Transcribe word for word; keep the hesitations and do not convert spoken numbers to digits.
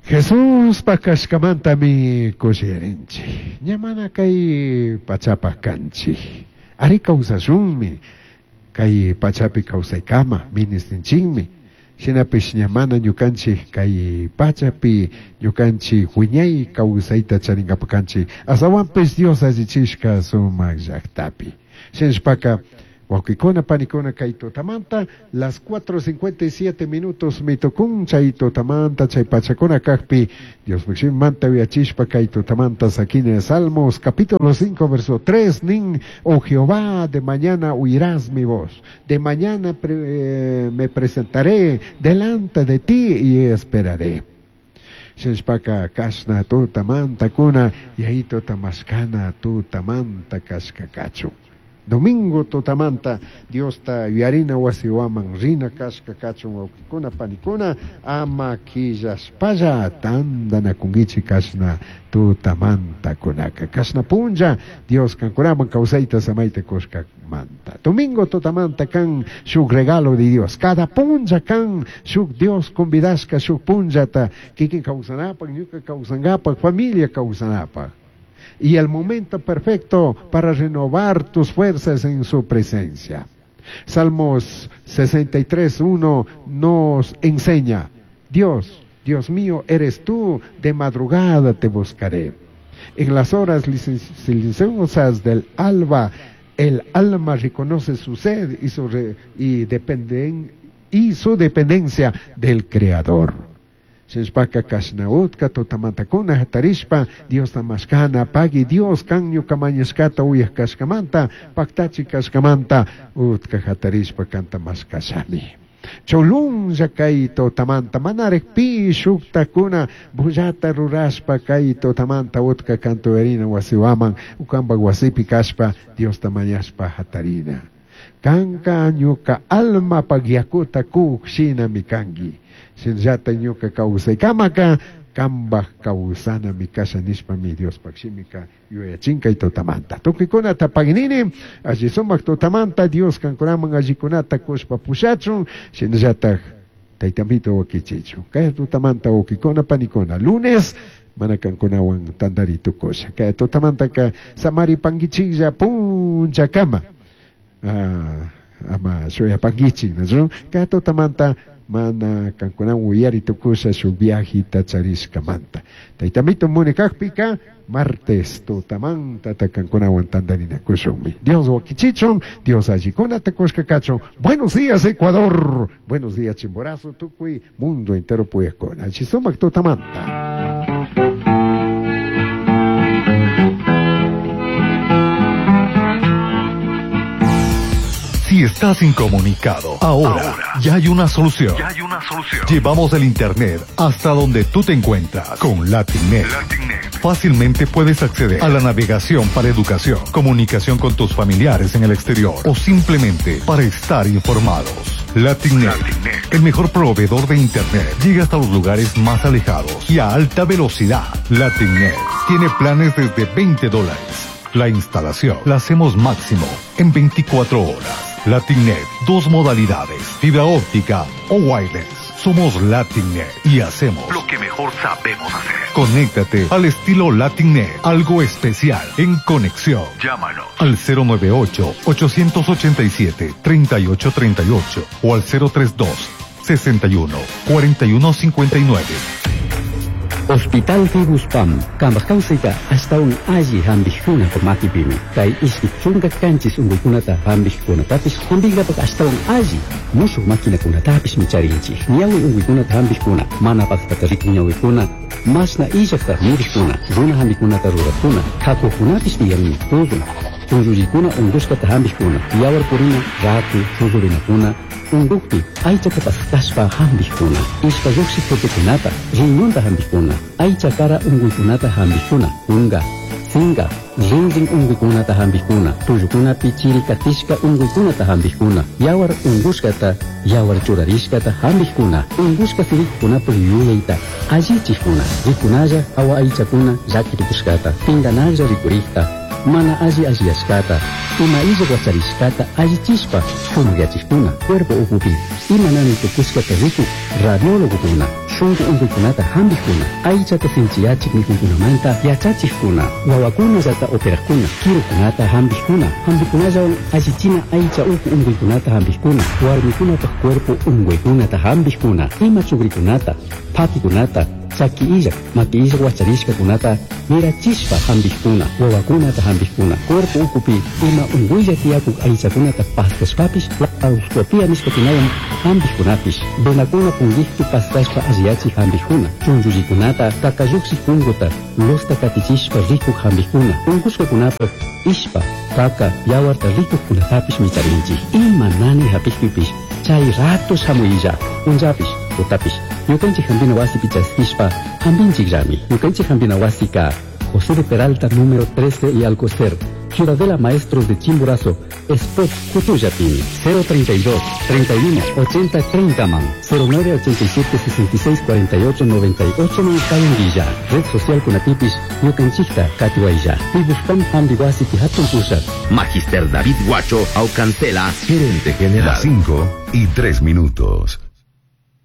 Jesuspa kashkamantami kushirinchik. Ña mana kay pachapaj kanchik. Ari kawsashunmi. Kay pachapi kawsaykama ministinchikmi. Shinapish ña mana ñukanchik kay pachapi ñukanchik wiñay kawsayta charinkapak kanchik. Astawanpish Dios allichishka sumak llaktapi. Shinashpaka wawqikuna panikuna kay tutamanta las cuatro cincuenta y siete minutos mitukun chay tutamanta chay pachakuna kajpi Dios manta uyachishpa kay tutamanta sakine Salmos capítulo cinco verso tres nin oh Jehová, de mañana oirás mi voz, de mañana pre, eh, me presentaré delante de ti y esperaré. Shinashpaka kashna tutamanta kuna y ahí tutamashkana tutamanta kashkakachu. Domingo tutamanta Diosta yuyarina wasiwaman rina kashka kachun wawqikuna panikuna ama killaspalla tantanakunkichik kashna tutamanta kunaka kashna punlla Dios kankunaman kawsayta samayta kushkamanta. Domingo tutamanta kan shuk regalo de Dios, cada punlla kan shuk Dios convidashka shuk punllata kikin kawsanapak ñuka kawsankapak familia kawsanapak. Y el momento perfecto para renovar tus fuerzas en su presencia. Salmos sesenta y tres, uno nos enseña, Dios, Dios mío, eres tú, de madrugada te buscaré. En las horas silenciosas del alba, el alma reconoce su sed y su, re, y dependen, y su dependencia del Creador. Shinashpaka kashnautka tutamantakuna hatarishpa Dios tamashkana pagui Dios kan ñuka mañashkata uyaj kashkamanta paktachi kashkamanta utka hatarishpa kanta mashkashami. Cholunlla kay tutamanta manarek pi shuktakuna bullata rurashpa kay tutamanta utka kantuerina wasiwaman ukamba wasipi kashpa Dios tamañashpa hatarina. Kanka ñuka alma pagyakuta kuk shinami kanki. Shinllata ñuka kawsaykamaka kambaj kawsana mi kasha nishpa mi Dios pakshimika yuyachinkay tutamanta. Tukuykunata paginini alli sumak tutamanta Dios kankunaman allikunata kushpa pushachun shinllataj taytamito wakichichun. Kay tutamanta wawqikuna panikuna lunes mana kankunawan tantari tukusha. Kay tutamantaka samari pankichiklla punchakama. Ah, ama shuyapankichik, ¿no? Kay tutamanta mana kankunawan uyari tukusha shuk viajita charishkamanta. Taytamito munikakpika martes tutamanta ta kankunawan tantarinakushunmi. Dios wakichichun, Dios allikunata kushkakachun. Buenos días Ecuador, buenos días Chimborazo, tukuy mundo entero puyakuna. Alli sumak tutamanta. Si estás incomunicado, ahora, ahora ya hay una solución. Ya hay una solución. Llevamos el internet hasta donde tú te encuentras con LatinNet. LatinNet. Fácilmente puedes acceder a la navegación para educación, comunicación con tus familiares en el exterior o simplemente para estar informados. LatinNet, LatinNet, el mejor proveedor de internet, llega hasta los lugares más alejados y a alta velocidad. LatinNet tiene planes desde veinte dólares. La instalación la hacemos máximo en veinticuatro horas. LatinNet, dos modalidades, fibra óptica o wireless. Somos LatinNet y hacemos lo que mejor sabemos hacer. Conéctate al estilo LatinNet, algo especial en conexión. Llámanos al cero nueve ocho, ocho ocho siete, tres ocho tres ocho o al cero tres dos, sesenta y uno, cuarenta y uno cincuenta y nueve. Hospital Figuspam, kambaj hasta un alli hambijkuna makipimi. Kay ishki chunka kanchis unquykunata hambijkunatapis hambinkapak hasta un alli mushuq maquinakunatapis micharinchik. Ñawi unquykunata hambijkuna, mana paqtata rikuq ñawikuna, masna illaqta murikuna, runa hambikunata rurakuna, kakuqkunapis tiyanmi pudun. Tunllullkuna unqushkata hambijkuna, yawar purina, raku, shuqurinakuna, unqukpi aychata pascashpa hambijkuna, ishpa lluqshiq tutukunata, riñonta hambijkuna, aycha kara unquykunata hambijkuna, kunka, sinka, rinrin unquykunata hambijkuna, tullukunapi chirikatishka unquykunata hambijkuna, yawar unqushkata, yawar churarishkata hambijkuna, unqushka sirikkunapaq yuyayta allichikuna, rikunalla hawa aychakuna llakirikushkata, pinganalla rikurikta, mana alli alliyashkata, ima illa wacharishkata allichishpa shumaqyachikuna, cuerpo ukupi, ima nani tukushkata rikuk radiólogokuna, Shunqu unquykunata hampikuna, aychata sinchiyachik mikuykunamanta yachachikuna, wawakunallata operaqkuna, kirukunata hampikuna, hampikunallawan allichina aycha uku unquykunata hampikuna, warmikunapaq cuerpo unquykunata hampikuna, ima chukrikunata, phakikunata, chaki illak, maki illak wacharishkakunata mirachishpa hampikuna, wawakunata hampikuna, cuerpo ukupi ima unquylla tiyakuk aychakunata paskashpapish laparoscopia nishkakunawan hampikkunapish, venakuna punkikpi paskashpa alliyachik hampikuna, chunchullikunata kakalluksik punkuta losta katichishpa rikuk hampikuna, unkushkakunapaq ishpa, kaka, yawarta rikukkunatapish micharinchik. Ima nani hapikpipish chay rato shamuylla, punllapish, tutapish, ñukanchik hampina wasipi chaskishpa hampinchikllami. Ñukanchik hampina wasika José de Peralta número trece y Alcocer, Ciudadela Maestros de Chimborazo, Spot Cutuyapini, cero treinta y dos, treinta y uno, ochenta, treinta man, cero nueve ochenta y siete, sesenta y seis, cuarenta y ocho, noventa y ocho man Kayunguilla, Red Social Kunatipis, Ñukanchikta, Katiwaya, Tibuspam Hambiwasi Tihatun Pushat. Magister David Guacho Aucancela, gerente general. Las cinco y tres minutos.